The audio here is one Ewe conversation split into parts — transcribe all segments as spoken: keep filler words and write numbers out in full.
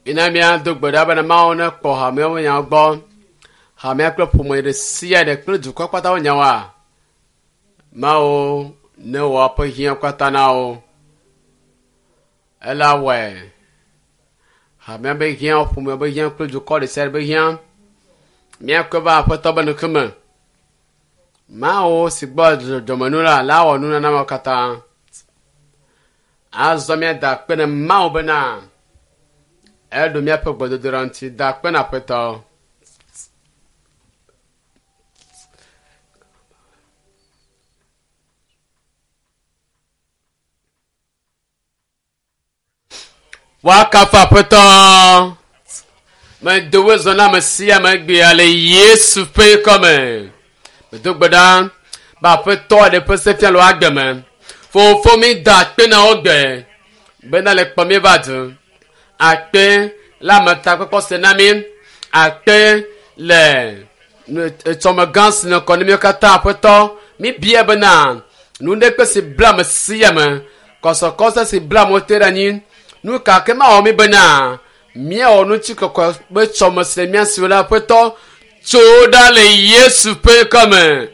Mina míado gbe ɖa bena Mawu nekpɔ hameawo ƒe nyawo gbɔ. Hamea kple ƒome ɖe sia ɖe kple dukɔ kpata ƒe nyawoa. Mawu newɔ eƒe hiã katã na wo. Ela wɔe. Hamea be hiã, ƒomea be hiã kple dukɔ ɖe sia ɖe be hiã. Míakɔe va Aƒetɔ be ŋkume. Mawu si gbɔ dzɔdzɔmenu la, la wɔ nunana mawo katã. Azɔ míada akpe ne Mawu bena eɖo míaƒe gbedodoɖa ŋuti. Da akpe na Aƒetɔ. Woakafu Aƒetɔ. Medo wo zɔ na ame sia ame egbea le Yesu ƒe ŋkɔ me. Medo gbe ɖa be Aƒetɔ aɖe ƒe se fia le wo agbe me. Fofo mi da akpe na wo gbe bena le kpɔ mi va du. Akpe le ametakpɔkpɔ se na mi. Akpe le etsɔme gã si nɔ kɔ ne míwo katã Aƒetɔ. Mi bia bena nu ɖe kpe si bla ame sia ame, kɔsɔkɔsɔ si bla amewo te ɖe anyi. Nu ka ke mawɔ mi bena míawɔ ŋutikɔkɔe be tsɔme si le mía si la Aƒetɔ tso ɖa le Yesu ƒe ŋkɔ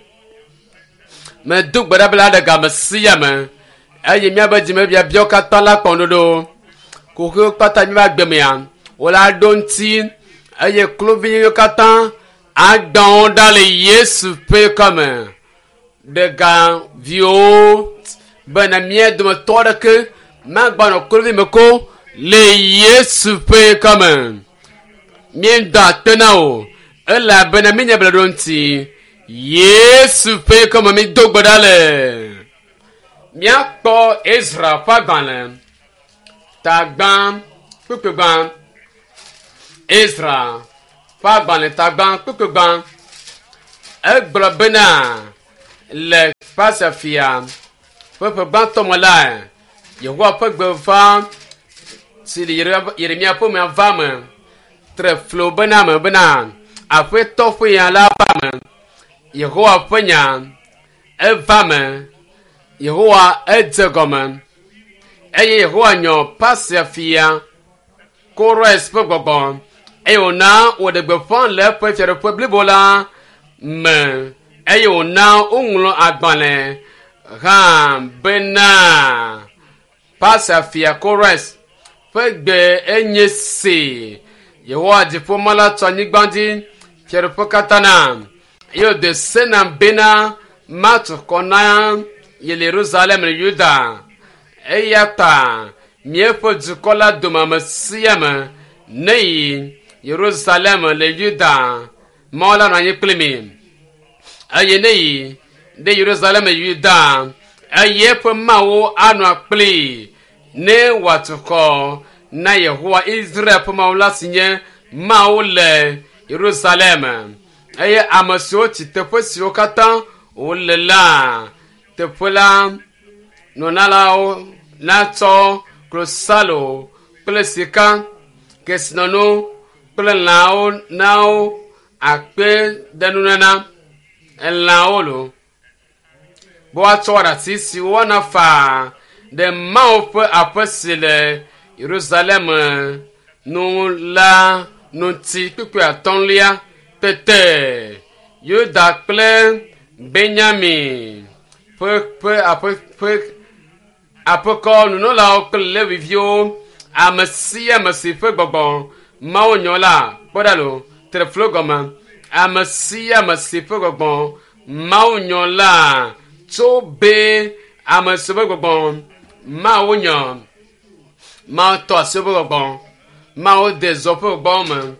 Medo gbe ɖa be la ɖe game sia me eye míaƒe dzimebiabiawo katã la kpɔ ŋuɖoɖo. Kuxiwo kpata míaƒe agbe mea, wola ɖo ŋuti eye kluviwo katã agbã wo ɖa le Yesu ƒe ŋkɔ me. Ɖe ga viwo bena mía dometɔ aɖeke magbanɔ kluvi me ko le Yesu ƒe ŋkɔ me. Míeda akpe na wò elabena míenya be le ɖo ŋuti. Yesu ƒe ŋkɔ me mído gbe ɖa le. Míakpɔ Ezra ƒe agbalẽ tagbã kpukpugbã. Ezra ƒe agbalẽ tagbã kpukpugbã. Egblɔ bena le Persia fia ƒe ƒe gbãtɔ me la, Yehowa ƒe gbe va si le Yeremia ƒe mea va me. Tre flo bena me bena Aƒetɔ ƒe nya la va me. Yehowa ƒe nya eva me. Yehowa edze gɔme eye Yehowa nyɔ Persia fia Kores ƒe gbɔgbɔ eye wòna wòɖe gbeƒã le eƒe fiaɖuƒe blibo la me eye wòna woŋlɔ agbalẽ hã bena Persia fia Kores ƒe gbe enye se. Yehowa dziƒomɔ la tso anyigba dzi fiaɖuƒe katã na eye wòde se nam bena matu xɔ na ye le Yerusalem le Yuda. Eya ta míaƒe dukɔ la dome ame sia ame neyi Yerusalem le Yuda. Mawu la nɔ anyi kpli mi. Eye neyi ɖe Yerusalem le Yuda eye eƒe Mawu anɔ kplii ne wòatu xɔ na Yehowa Israel ƒe Mawu la si nye Mawu le Yerusalem. Eye ame siwo tsi teƒe siwo katã wole la, teƒe la nɔnalawo natsɔ klosalo kple sika, kesinɔnu kple lãwo na wo akpe ɖe nunana elãwo lo. Be woatsɔ aɖatsi si woana faa ɖe Mawu ƒe aƒe si le Yerusalem nu la ŋuti kpukpui atɔ̃lia tete Yuda kple Benyamin ƒe ƒe aƒe ƒe aƒekɔ nunɔlawo kple Leviviwo ame sia ame si ƒe gbɔgbɔ Mawu nyɔ la kpɔ ɖa lo tre flo gɔme ame sia ame si ƒe gbɔgbɔ Mawu nyɔ la tso be ame si ƒe gbɔgbɔ Mawu nyɔ Mawu tɔ asi woƒe gbɔgbɔ Mawu de zɔ ƒe gbɔgbɔwo me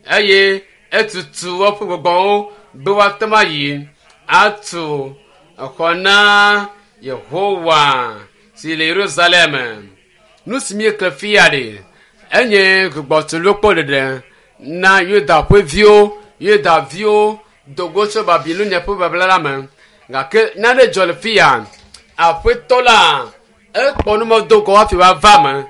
eye etutu woƒe gbɔgbɔwo be woate ŋu ayi atu exɔ na Yehowa si le Yerusalem. Nu si míekle fia ɖe enye gbugbɔtulokpo ɖeɖe na Yuda ƒe viwo. Yuda viwo do go tso Babilonia ƒe babla la me. Gake nane dzɔ le fia. Aƒetɔ la ekpɔ nu do go hafi wòava me.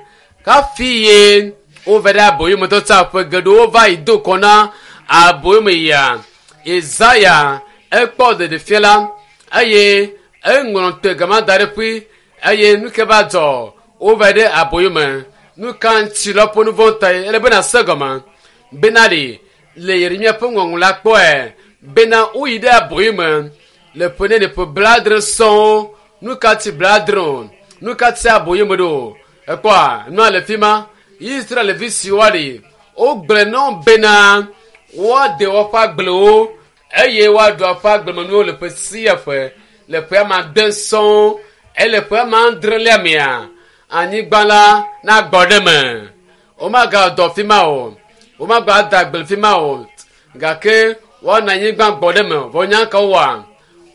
Hafi ye wova ɖe aboyome tɔtsa ƒe geɖewo va yi do kɔ na aboyome yia. Isaya ekpɔ ɖeɖefia la eye eŋlɔ te gama da ɖe ƒui eye nu ke va dzɔ wova ɖe aboyome. Nu ka ŋuti le woƒe nu vɔ̃ ta ye? Ele bena se gɔme bena ɖe le Yeremia ƒe ŋɔŋlɔ la kpɔe bena woyi ɖe aboyo me le ƒe nene ƒe blaadre sɔŋ. Nu ka ti blaadre o? Nu ka ti aboyo me ɖo? Ekpɔa nua le fi ma. Israelvi siwo ɖe wogblẽ na wo bena woade woƒe agblewo eye woaɖu woƒe agblemenuwo le ƒe sia ƒe le ƒe ame ade sɔŋ ele ƒe ame adrelia mea anyigba la nagbɔ ɖe me. Womagadɔ fi ma o, womagada agble fi ma o gake woana anyigba gbɔ ɖe me. Vɔ nya ka wowɔa?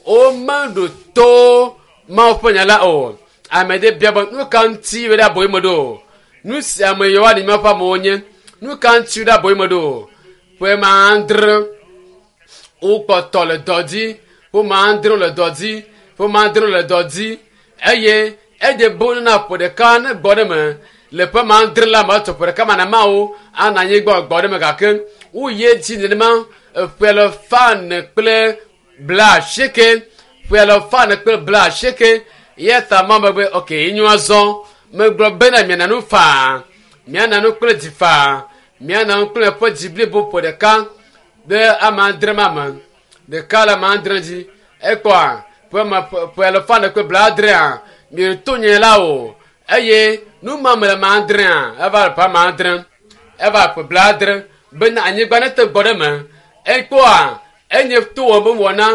Womeɖo to Mawu ƒe nya la o. Ame ɖe bia be nu ka ŋuti wo ɖe aboyo me ɖo? Nu si ame yiwo ɖe míaƒe amewo nye. Nu ka ŋuti wo ɖe aboyo me ɖo? Ƒe ma adre wokpɔtɔ le dɔ dzi. Ƒe ma adre le dɔ dzi. Ƒe ma adre le dɔ dzi eye eɖe bo na ƒe ɖeka ne gbɔ ɖe me le ƒe ma adre la me etɔ ƒe ɖeka ma na mawo ana anyigba gbɔ ɖe me gake woyi edzi nenema ƒe alafa ene kple bla asieke ƒe alafa ene kple bla asieke eya ta ma me be ok enyo azɔ megblɔ bena miana nu faa miana nu kple dzi faa miana nu kple ƒe dzi blibo ƒe ɖeka ɖe ame adre ma me ɖeka le ame adre dzi ekpɔa ƒe ma ƒe alafa ene kple bla adrea mieto nye la o eye nu ma me le ame adrea eva le ƒe ame adre eva ƒe bla adre bena anyigba ne te gbɔ ɖe me ekpɔa enye to wɔ be wɔna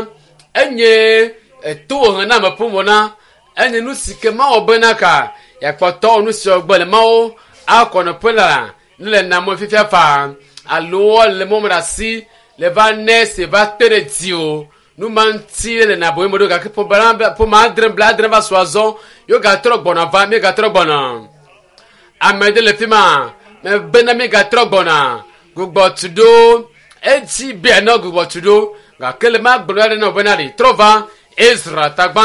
enye to wɔ na ame ƒe wɔna enye nu si ke mawɔ bena ka yakpɔtɔ nu si gbɔ le mawo akɔ nɔƒe la ne le namɔ fifia faa alo le mɔ me ɖe asi le va ne se va te ɖe dzi o nu ma ŋuti le na aboyo me ɖo gake ƒe ma adre bla adre va su azɔ yewo gatrɔ gbɔna va mi gatrɔ gbɔna ame ɖe le fi ma me bena mi gatrɔ gbɔna gbugbɔ tu ɖo edzi be na gbugbɔ tu ɖo gake le ma gblɔ ɖe na wo bena ɖe trɔ va Ezra tagba